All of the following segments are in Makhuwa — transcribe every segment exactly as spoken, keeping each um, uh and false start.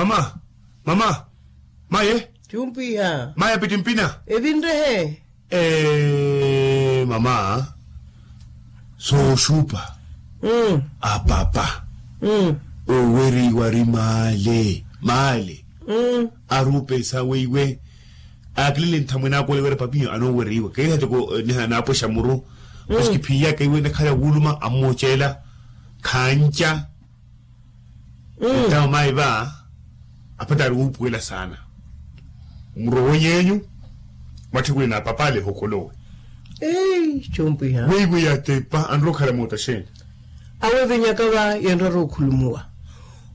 Mama. Mama. Maye. Chumpiha. Maye apiti mpina. Evinrehe. Mama. Sooxupa. Apapa. Oweriwa ari maale maale. Aruupesa weiwe. Akilele nthamwene akole wira papiyo anooweriwa keihati ko. Naapwexa muru. Kosi kiphiiyaka iwe nakhala wuuluma ammooceela. Khanca. Entawo mayi va. Apata ari wuupuwela saana. Muru oweny'enyu. Mwatthikule na apapale ehokolowe. Ei. Chumpiha. Weiwe yatepa anrowa okhala moota xeeni? Awevenyaka va yenrara okhulumuwa.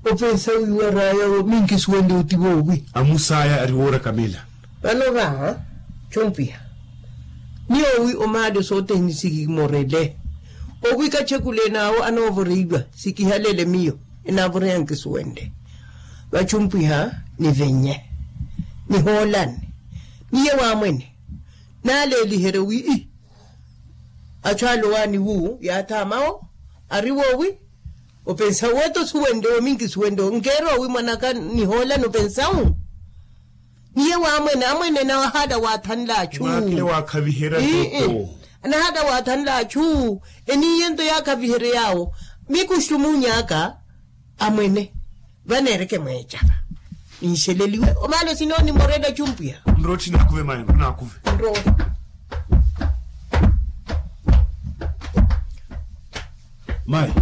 Opensa wiiwa raaya wo minkisuwende oti voowi. Amusaya ari woorakamela. Vano va. Chumpiha. Miyo wi omaale sothene sikimorele. Owi kachekule n'awo anoovoreiwa. Sikihalele miyo. Enaavoreya nkisuwende. Vachumpwiha nivenye. Nihoolani. Niye waamwene. Naaleeliherye wi ii. Achu alowaani wu yaathaama wo. Ari woowi. Opensa woto suwende wo minki suwende wo nkeera owi mwanaka nihoolani opensa wu. Niye waamwene amwene nahaala waathanla achu. Nahaala waathanla achu. Eniiye nto yaakhavihery'awo. Mikuxumunyaaka. Amwene. Vaneereke mweecava. Ninxeleliwe omaalo sinoonimorela chumpwiha. Nrootthi naakuve mayi nro naakuve. Nrootthi. Mayi.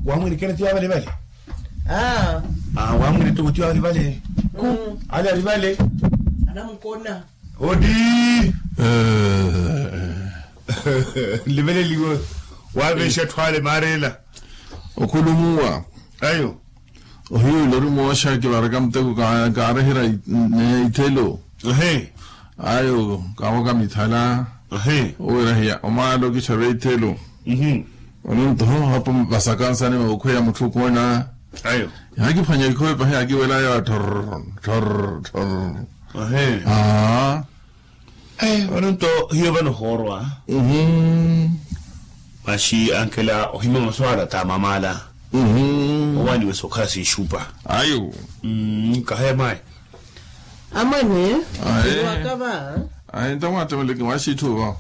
Waamwene kena ti avalevale. Waamwene toko ti avalevale. Ku. Ale alivale. Anamukona. Odi. Nliveleliwe. Waaveexa atthu ale maareela. Okhulumuwa. Ayo. Ohiyuula ori mooxa kivaraka muteko kaareherya. Ithelo. Ayo kaawaka mithala. Owira hiya omaalo kittharwe ithelo. Ononto hapo vasakansani mookhweya mutthu okoona. Ayo. Yaakiphwanya ikhowe pahi yaakiwelaya thorr thorr thorr. Vano nto hiyo vano hoorwa. Maxi ankela ohimya maswaala t'amamala. Owaaniwe sokhala siixupa. Ayo. Kahaya mayi. Amwene. Ayi. Wakava. Ayi ntamwaattemeleke mwaxitthu va.